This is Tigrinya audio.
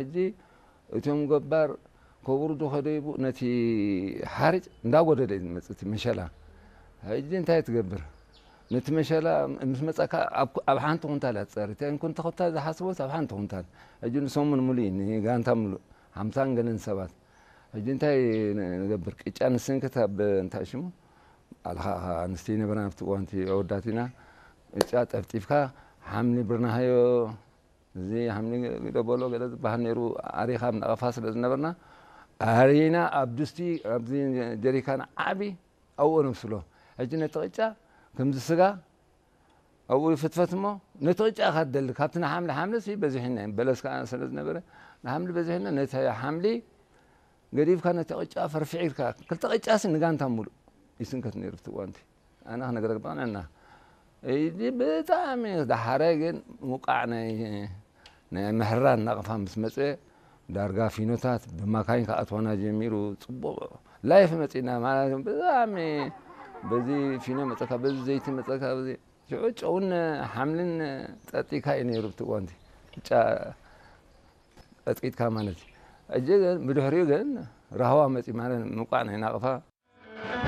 ሕጂ እቶም ገባር ከውርዱ ከደይቡ ነቲ ሓርጭ እንዳጎደለ እዩ ዝመጽእ እቲ መሸላ። ሕጂ እንታይ ትገብር? ነቲ መሸላ ምስ መጸካ ኣብ ኩ-፣ ኣብ ሓንቲ ኩንታል እያ ትጸሪ። እተን ኩንተ-፣ ኩንታ ዝሓስቦስ ኣብ ሓንቲ ኩንታል። ሕጂ ንሰሙን ሙሉእ እዩ፣ ንጋንታ ሙሉእ፣ ሓምሳን ገለን ሰባት። ሕጂ እንታይ ን-፣ ንገብር? ቅጫ ንስንክት ኣብ እንታይ ሽሙ? ኣልኻ ኣንስቲ ነበርና ኣብቲ እዋንቲ ኣወዳት ኢና። ቅጫ ጠፍጢፍካ ሓምሊ ብርናሃዮ፣ እዚ ሓምሊ ግደበሎ ገለ ዝበሃል ነይሩ፣ ኣሪኻ ኣብ ነቐፋ ስለ ዝነበርና፣ ኣሪና ኣብ ድስቲ፣ ኣብዚ ጀሪካን ዓቢ ኣብኡ ነብስሎ። ሕጂ ነቲ ቅጫ ከምዚ ስጋ ኣብኡ ይፍትፈት እሞ፣ ነቲ ቅጫ ኢኻ ትደሊ። ካብቲ ንሓምሊ፣ ሓምሊ ሲ በዚሕና እዩ፣ በለስ ከኣ ስለ ዝነበረ፣ ንሓምሊ በዚሕና፣ ነቲ ሓምሊ ገዲፍካ ነቲ ቅጫ ፈርፊዕካ፣ ክልተ ቅጫ ሲ ንጋንታ ሙሉእ ይስንከት ነይሩ ኣብቲ እዋንቲ። ኣነ ክነግረክ ብቕንዕና። እዚ ብጣዕሚ ደሓረ ግን ምውቃዕ ናይ፣ ናይ ምሕራር ናቕፋ ምስ መጸ፣ ዳርጋ ፊኖታት ብማካይን ክኣትዋና ጀሚሩ። ጽቡቕ ላይፍ መጺና ማለት እዩ። ብጣዕሚ በዚ ፊኖ መጸካ፣ በዚ ዘይቲ መጸካ፣ በዚ ሽዑ ጨውን ሓምልን ጸጢካ እዩ ነይሩ ኣብቲ እዋንቲ። ቅጫ ቀጥቂጥካ ማለት እዩ። ሕጂ ግን ብድሕሪኡ ግን ራህዋ መጺ ማለት ምውቃዕ ናይ ናቕፋ።